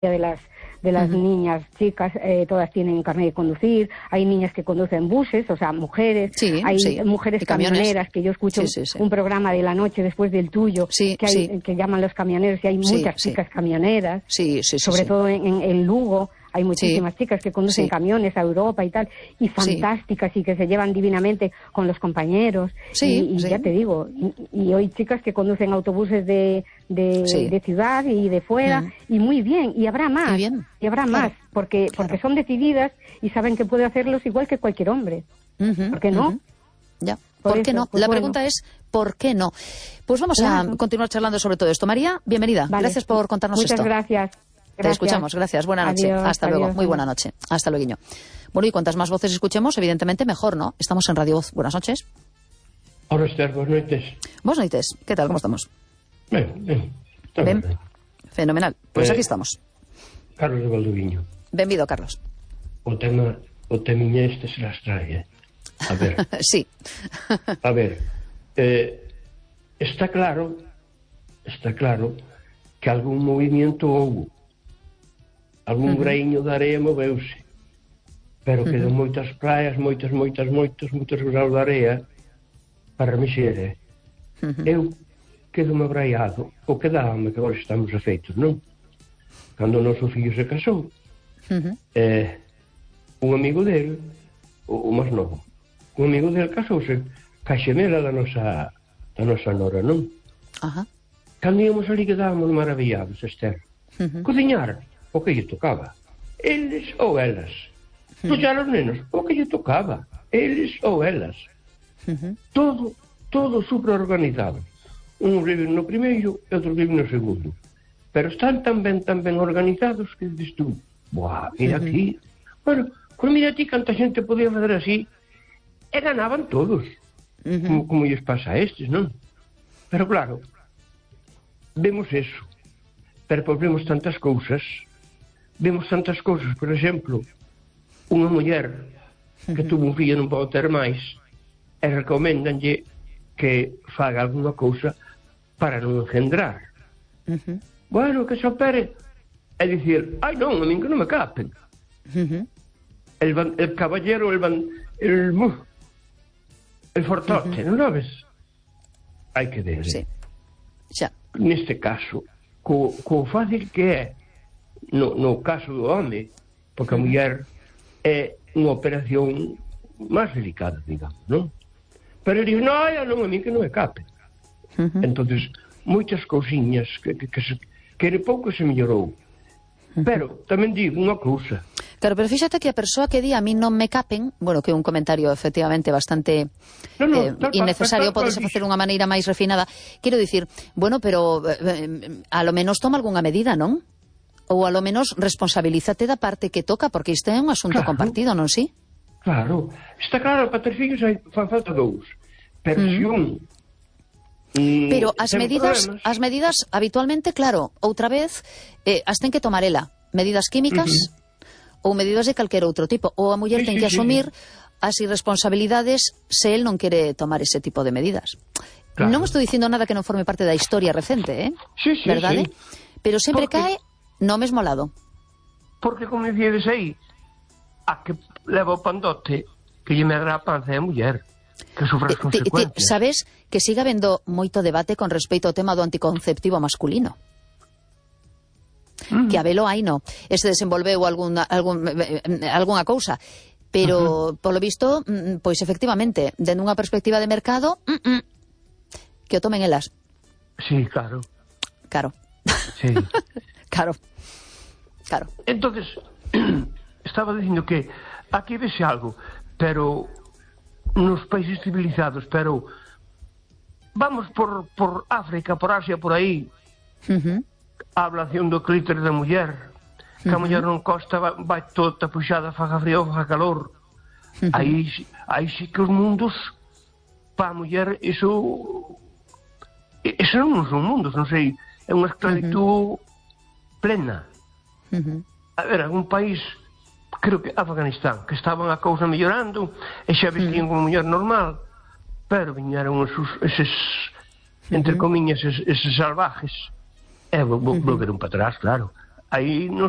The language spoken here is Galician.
de las niñas, chicas, todas tienen carnet de conducir, hay niñas que conducen buses, o sea, mujeres, hay mujeres camioneras, que yo escucho un programa de la noche después del tuyo, que llaman los camioneros, y hay muchas chicas camioneras, sobre todo en Lugo, hay muchísimas chicas que conducen camiones a Europa y tal, y fantásticas, y que se llevan divinamente con los compañeros, y ya te digo, y hoy chicas que conducen autobuses de ciudad y de fuera, y muy bien, y habrá más, porque son decididas y saben que puede hacerlos igual que cualquier hombre. ¿Por qué no? Ya. ¿Por qué no? La pregunta es, ¿por qué no? Pues vamos a continuar charlando sobre todo esto. María, bienvenida. Gracias por contarnos esto. Muchas gracias. Te escuchamos, gracias. Buena noche. Hasta luego. Muy buena noche. Hasta luego. Bueno, y cuantas más voces escuchemos, evidentemente mejor, ¿no? Estamos en Radio Voz. Buenas noches. Hola, Esther. Buenas noches. Buenas noches. ¿Qué tal? ¿Cómo estamos? Ben. Fenomenal. Pues aquí estamos. Carlos de Valdoviño. Benvido, Carlos. O temiña este se las trae, A ver. Sí. A ver. Está claro que algún movimiento houve. Algún graíño de area moveuse. Pero quedan moitas praias, moitos graus de area para mexer. Eu quedo-me abraiado, ou quedábame, que agora estamos afeitos, non? Cando o noso fillo se casou, un amigo dele, o máis novo, un amigo dele casouse ca xemela da nosa nora, non? Cando íamos ali quedábamos maravillados, Esther. Cociñar, o que lle tocaba, eles ou elas. Puxar os nenos, o que lle tocaba, eles ou elas. Todo super organizado. Uns viven no primeiro e outros viven no segundo. Pero están tan ben organizados que dices tú, buah, mira aquí. Bueno, pues mira aquí canta xente podía fazer así. E ganaban todos. Como lles pasa a estes, non? Pero claro, vemos eso. Pero pues vemos tantas cousas. Por exemplo, unha muller que tuvo un fillo non pode ter máis e recomendanlle que faga alguna cousa para non engendrar. Bueno, que se opere e dicir, ai non, a min que non me capen. El caballero, el fortote, non sabes? Hai que ver. Neste caso, co fácil que é no caso do home, porque a muller é unha operación máis delicada, digamos, non? Pero digo, non, a mí que non me cape. Entonces, moitas cousiñas que de pouco se mellorou. Pero tamén digo unha cousa. Claro, pero fíxate que a persoa que di a mí non me capen, bueno, que é un comentario efectivamente bastante innecesario, podese facer unha maneira máis refinada. Quero dicir, bueno, pero a lo menos toma algunha medida, non? Ou a lo menos responsabilízate da parte que toca, porque isto é un asunto compartido, non si? Claro, está claro, para ter fillos fan falta dous. Pero se un pero as medidas habitualmente, claro, outra vez as ten que tomar ela, medidas químicas ou medidas de calquer outro tipo, ou a muller ten que asumir as irresponsabilidades se el non quere tomar ese tipo de medidas. Non estou dicindo nada que non forme parte da historia recente, verdade? Pero sempre cae no mesmo lado. Porque, como dicíades aí, a que leva o pandote que lle medra a panza é a muller, que sofre as consecuencias. Sabes que siga habendo moito debate con respecto ao tema do anticonceptivo masculino? Que a velo aí no. Este desenvolveu algunha cousa, pero, polo visto, pois efectivamente, dende unha perspectiva de mercado, que o tomen elas. Sí, claro. Sí. Claro. Entonces, estaba dicindo que aquí vese algo, pero nos países civilizados, pero vamos por África, por Asia, por aí, a ablación do clítoris da muller, que a muller non costa, vai toda tapuxada, faga frío, faga calor. Aí sí que os mundos, para a muller, eso non son mundos, non sei, é unha esclavitud plena. A ver, algún país, creo que Afganistán, que estaban a cousa mellorando e xa vestían como muller normal, pero viñeron eses entre comiñas, eses salvajes e volveron para atrás, claro. aí non se